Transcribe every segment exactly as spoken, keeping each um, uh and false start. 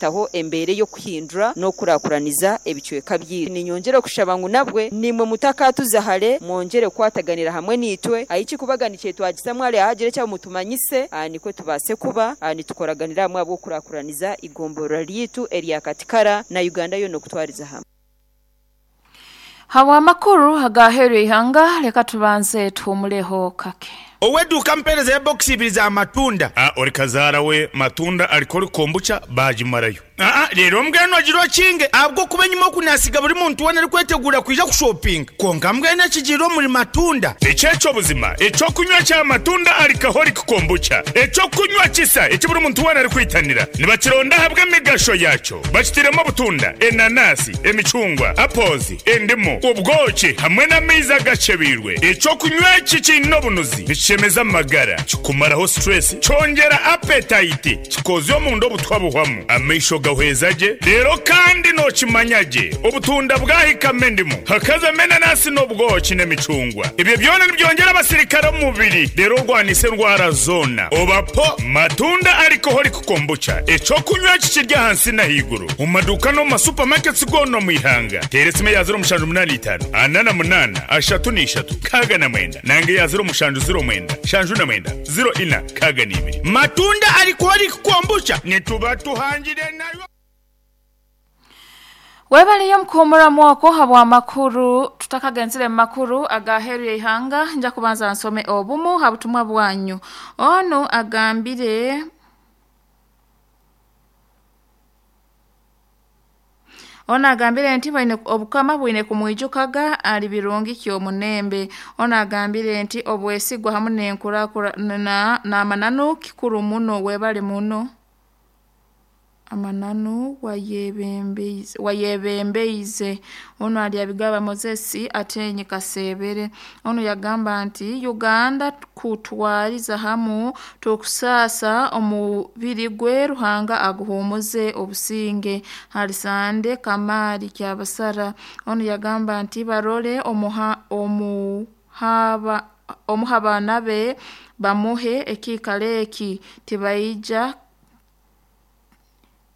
Taho embere y'okuhindura n'okurakuraniza ebicweka byitu. Ninyongera okushaba ngu nabwe nimwe mutakatuza hare, mwongere kukwataganira hamwe nitwe aiki kubaga nikyetwagisa mwale ahagire ekyabo mutumanyise, nikwe tubaase kuba nitukoraganira hamwe abw'okurakuraniza igomborora ryitu erya Katikara na Uganda yona okutwariza hamwe. Hawa makuru agaheru ihanga, leka tubanze tuhumuleho kake. Oweduka mpereza ya box ibiri za matunda. Ah, ori kazara we matunda alikori kombucha bajimarayo. Ah, rero mbweno agiro kinge abwo kuba nyuma kunasiga buri muntu wona ari kwetegura kuja kushopping. Konka mbweno kijiro muri matunda. Echecho buzima, echo kunywa cha matunda alikahori kombucha. Echo kunywa kisa, echo buri muntu wona ari kwitanira. Nibakironda habwe migasho yacho. Bakitiremo butunda, enanasi, emichungwa, apples, endimu, ubwoki hamwe n'amaizi gachebirwe. Echo kunywa kikino bunuzi. Chemeza magara, kikumaraho stress, chongera appetite, kikozyo omundo obutwa buhwamu, amaisho gahwezaje, rero kandi no kimanyaje, obutunda bwahikame endimu, hakaza menanasi n'obwoki n'emicungwa. Ibyo byona nibyongera abasirikare mu mubiri, rero rwanise ndwara zona. Obapo matunda alcoholic kombucha, echo kunywa kikirya hansi na higuru. Mu maduka no mu supermarkets gono mu ihanga. Teresime ya zero mushanju munani itanu, anana munana, ashatu n'ishatu, kaga na mwenda. Nange ya zero mushanju zero mwenda. Shanju na mwenda zero ina kaga nibiri. Matunda alcoholic kombucha nituba tuhangire nayo. Webaliyo mkuhumura mwoko habwa makuru tutakagenzile makuru agaheru ya ihanga nja kubanza nsome obumu habutumwa bwanyu. Ono agambire Ona agambire nti bwine obukama bwine kumwijukaga ali birungi kyo munembe. Ona agambire nti obwesigwa hamwe n'enkurakura na na mananu kikuru muno webale muno. Amananu wayebembeize wayebembeize. Ono ali abigaba Moses atenye kasebere. Ono yagamba nti Uganda kutwariza hamu tukusasa omubiri gwe Ruhanga aguhumuze obusinge. Halisande Kamari Kyabasara. Ono yagamba nti barole omuha omuhaba omuhabana be bamuhe ekikaleki tibaija.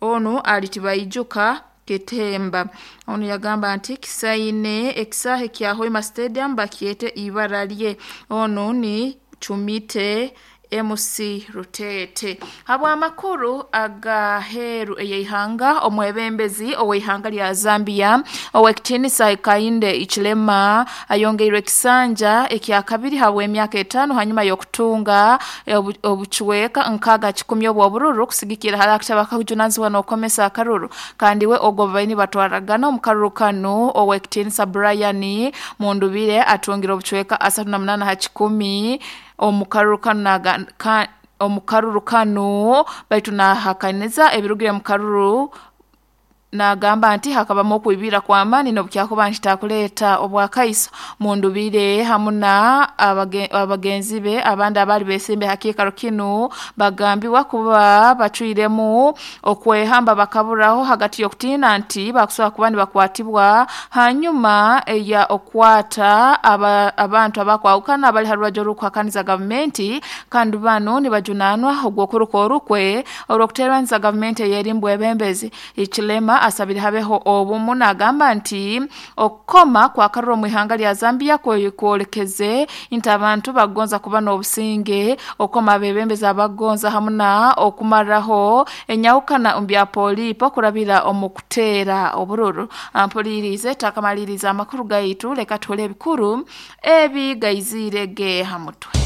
Ono alitibaijuka ketemba. Ono yagamba nti kisaine ekisahe kya Hoima Stadium bakiete ibara lye. Ono ni Chumite M C Rutete. Habwa amakuru agaheru eyeihanga omwebembezi oweihanga lya Zambia owekitiinisa Hakainde Hichilema ayongeirwe kisanja ekya kabiri habwa emyaka etano hanyuma y'okutunga obuchweka nkaga kikumi obw'obururu kusigikira harakitaba kakujunanizibwa n'okukomesa akaruru. Kandi we ogwo baini batwaragana omukaruru kano owekitiinisa Brian Mundubire atungira obuchweka asatu na munana ha kikumi omukaruru kano ka, omukaruru kano baitu nahakaniza ebirugire mukaruru nagamba nti hakabamu okuibira kwa amani n'obukyakuba nti takuleeta obwakaiso. Mundubire hamwe na abagenzi be abandi abali besimbe hakikaro kino bagambibwa kuba bacwiremu okwehamba bakaburaho hagati y'okutiina nti bakusobola kuba nibakwatibwa hanyuma eya okwata aba, abantu abakwawukana abali ha rubaju orw'okuhakaniza gavumenti kandi bano nibajunanwa ogw'okuruka orukwe orw'okuteeraniza gavumenti eyerimbwa ebembezi. Hichilema asabire habeho obumu nagamba nti okukoma kwa karuro mu ihanga lya Zambia kwolekeze nti abantu bagonza kuba n'obusinge okukoma abebembezi abagonza hamwe na okumaraho enyawukana mbya polipo kurabira omu kuteera obururu. Ampolirize takamaliriza amakuru gaitu leka tuhole ebikuru ebi gaizire ge hamutwe.